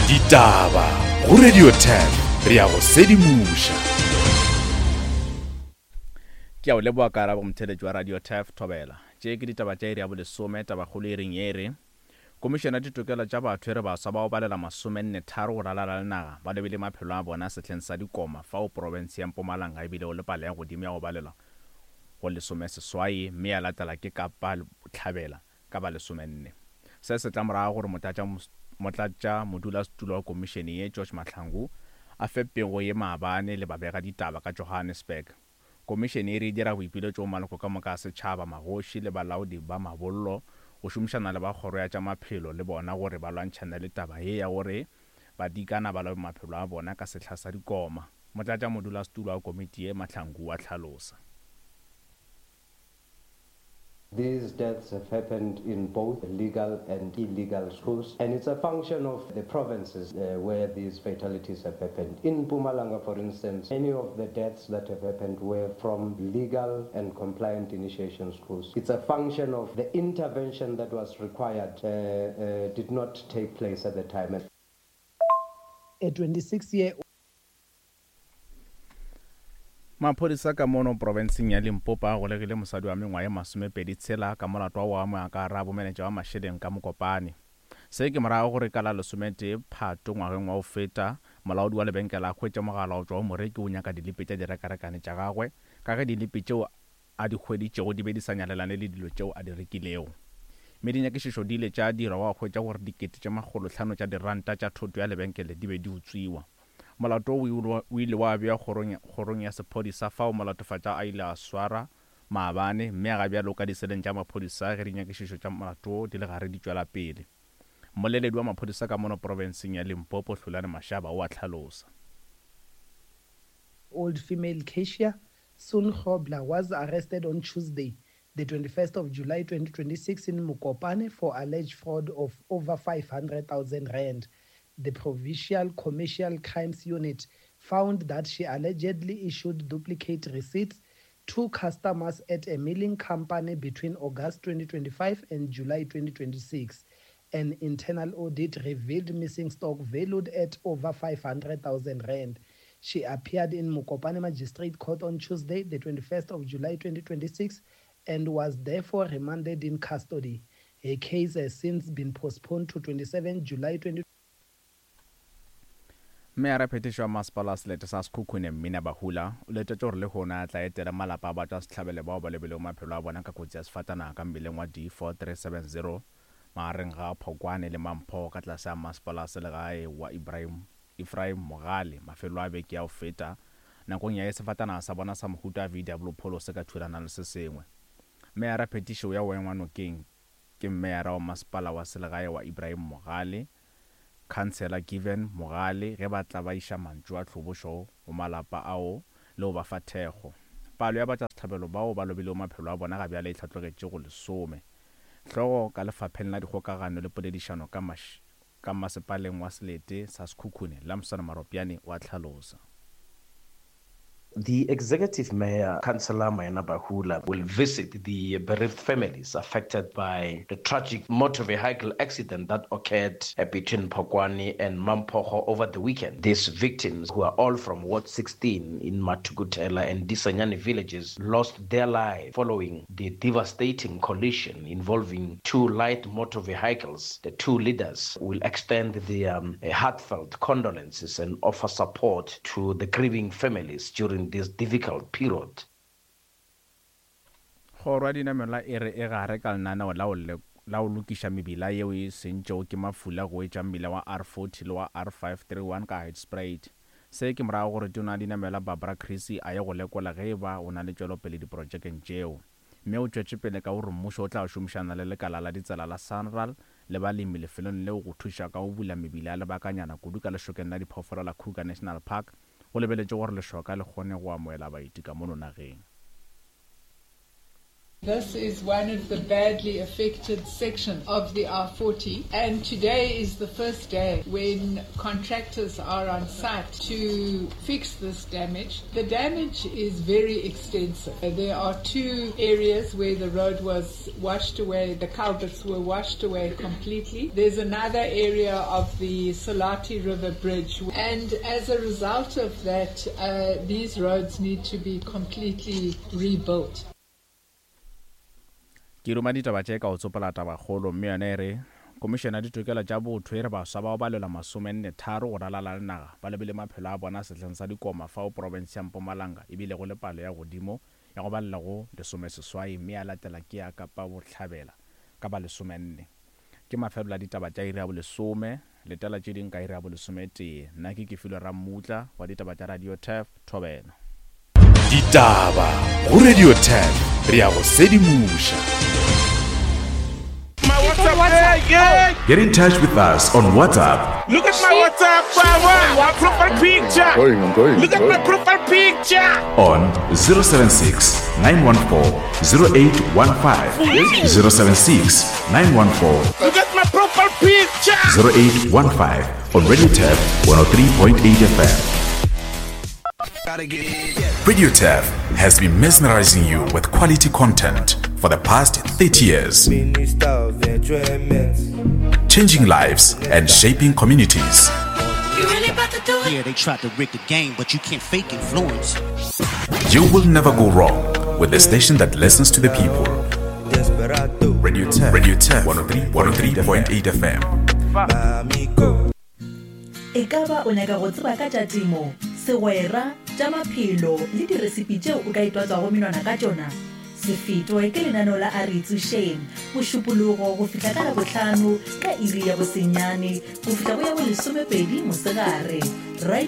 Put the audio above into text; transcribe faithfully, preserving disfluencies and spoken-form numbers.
Ditaba go Radio ten re ya go sedimoša. Ke a o leboga karabo motheletši wa Radio Turf Thobela. Tše ke ditaba tša iri ya bolesome tabakgolo e reng ye re Komišene ya Ditokelo tša Batho e re baswa ba go balela masomenne tharo go ralala le naga ba lobile maphelo a bona sehleng sa dikoma fao profense ya Mpumalanga e bilego le palo ya godimo ya go balelwa go lesomeseswai mme ya latela ke Kapa Bohlabela ka ba lesomenne. Se se tla morago gore motlatša modulasetulo wa komišene ye George Mahlangu a fe pego ye maabane le babega ditaba ka Johannesburg. Komišene e re e dira boipiletšo go maloko ka moka a setšhaba, magoši le balaodi ba mabollo go šomišana le ba kgoro ya tša maphelo le bona gore ba lwantšhane le taba ye ya gore badikana ba lobe maphelo a bona ka sehla sa dikoma. Motlatša modulasetulo wa komiti ye Mahlangu wa hlalosa. These deaths have happened in both legal and illegal schools, and it's a function of the provinces uh, where these fatalities have happened. In Mpumalanga, for instance, many of the deaths that have happened were from legal and compliant initiation schools. It's a function of the intervention that was required uh, uh, did not take place at the time. A twenty-six-year Maphodisa ka mono profenseng ya Limpopo a golegile mosadi wa mengwaga ye masomepedi tshela ka molato wa go amoga ka gare ga bomenetša wa mašeleng ka Mokopane. Se ke morago gore ka la lesometee Phato ngwageng wa go feta, molaodi wa lebenkele a hwetše mogala go tšwa go moreki o nyaka dilipi tša direkarekane tša gagwe ka ge dilipi tšeo a di hweditšego di be di sa nyalelane le dilo tšeo a di rekilego. Mme dinyakišišo di ile tša dirwa gwa hwetša gore dikete tše makgolohlano tša diranta tša thoto ya lebenkele di be di utswiwa. Molato wo o ile wa bewa kgorong, kgorong ya sephodisa fao molatofatša a ile a swara maabane mme ga bjale o ka diseleng tša maphodisa ge dinyakišišo tša molato wo di le gare di tšwela pele. Mmoleledi wa maphodisa ka mono profenseng ya Limpopo Hlulani Mashaba o a hlalosa. Old female cashier Sun Grobler was arrested on Tuesday, the twenty-first of July twenty twenty-six in Mokopane for alleged fraud of over five hundred thousand rand. The Provincial Commercial Crimes Unit found that she allegedly issued duplicate receipts to customers at a milling company between August twenty twenty-five and July twenty twenty-six. An internal audit revealed missing stock valued at over five hundred thousand rand. She appeared in Mokopane Magistrate Court on Tuesday, the twenty-first of July twenty twenty-six, and was therefore remanded in custody. Her case has since been postponed to twenty-seven July twenty Meyara phetišo wa masepala wa selete sa Sekhukhune Mmina Bahula o letetše gore lehono a tla etela malapa a batšwasehlabelo bao ba lobilego maphelo a bona ka kotsi ya sefatanaga ka mmileng wa D four three seven zero magareng ga Phokwane le Mampho ka tlase ga masepala wa selegae wa Ibrahim, Ephraim Mogale mafelo a beke ya go feta nakong ya ge sefatanaga sa bona sa mohuta wa V W Polo se ka thulana le se sengwe. Meyara phetišo ya go engwa nokeng ke meyara wa masepala wa selegae wa Ibrahim Mogale, Councillor Given Mogale ge ba tla ba iša mantšu a tlhobošo go malapa ao le go ba fa thekgo. Palo ya batšwasehlabelo bao ba lobilego maphelo a bona ga bjale e hlatlogetše go lesome. Hlogo ka lefapheng la dikgokagano le poledišano ka maš-, ka masepaleng wa selete sa Sekhukhune Lamson Maropiane wa hlalosa. The Executive Mayor, Councillor Maina Bahula, will visit the bereaved families affected by the tragic motor vehicle accident that occurred between Phokwane and Mamphogo over the weekend. These victims, who are all from Ward sixteen in Matukutela and Disanyane villages, lost their lives following the devastating collision involving two light motor vehicles. The two leaders will extend their, um, heartfelt condolences and offer support to the grieving families during this difficult period. Kgoro ya dinamelwa e re e gare ka lenaneo la go le-, la go lokiša mebila yeo e sentšego ke mafula go etša mmila wa R forty le wa R five three one ka Hoedspruit. Se ke morago gore tona ya dinamelwa Barbara Creecy a ye go lekola ge e ba o na le tšwelopele diprojekeng tšeo. Mme o tšwetše pele ka gore mmušo o tla šomišana le lekala la ditsela la Sanral le balemi lefelong leo go thuša ka go bula mebila ya lebakanyana kudu ka lešokeng la diphoofolo la Kruger National Park go lebeletše gore lešoka le kgone go amoela baeti ka mono nageng. This is one of the badly affected sections of the R forty, and today is the first day when contractors are on site to fix this damage. The damage is very extensive. There are two areas where the road was washed away, the culverts were washed away completely. There's another area of the Salati River Bridge, and as a result of that, uh, these roads need to be completely rebuilt. Ke ruma ditaba tše ka go tsopola tabakgolo, mme yona e re Komišene ya Ditokelo tša Botho e re baswa bao ba lwela masomenne tharo go ralala le naga ba lebile maphelo a bona sehleng sa dikoma fao profense ya Mpumalanga e bilego le palo ya godimo ya go balela go lesomeseswai, mme ya latela ke ya Kapa Bohlabela ka ba lesomenne. Ke mafelelo a ditaba tša iri ya bolesome, letela tše ding ka iri ya bolesometee. Nna ke Kefilwe Rammutla wa ditaba tša Radio Turf Thobela. Ditaba go Radio Turf, re ya go sedimoša. My WhatsApp, yeah. Get in touch with us on WhatsApp. Look at my WhatsApp, my profile picture. I'm going, I'm going, Look I'm at my going. profile picture. On zero seven six, nine one four, zero eight one five. zero seven six, nine one four. Look at my profile picture. zero eight one five on Radio Turf one oh three point eight F M. Radio Turf has been mesmerizing you with quality content for the past thirty years. Changing lives and shaping communities. You really about to do it? Yeah, they tried to rig the game, but you can't fake influence. You will never go wrong with the station that listens to the people. Radio Turf, Radio Turf, one oh three point eight F M. E ka ba o nyaka go tseba ka tša temo, segwera, tša maphelo le diresipi tšeo o ka itwatswago menwana ka tšona? Se fetwe ke lenaneo la A Re Itsošeng, Mošupologo go fihla ka Labohlano ka iri ya bosenyane go fihla go ya bolesomepedi mosegare. Radio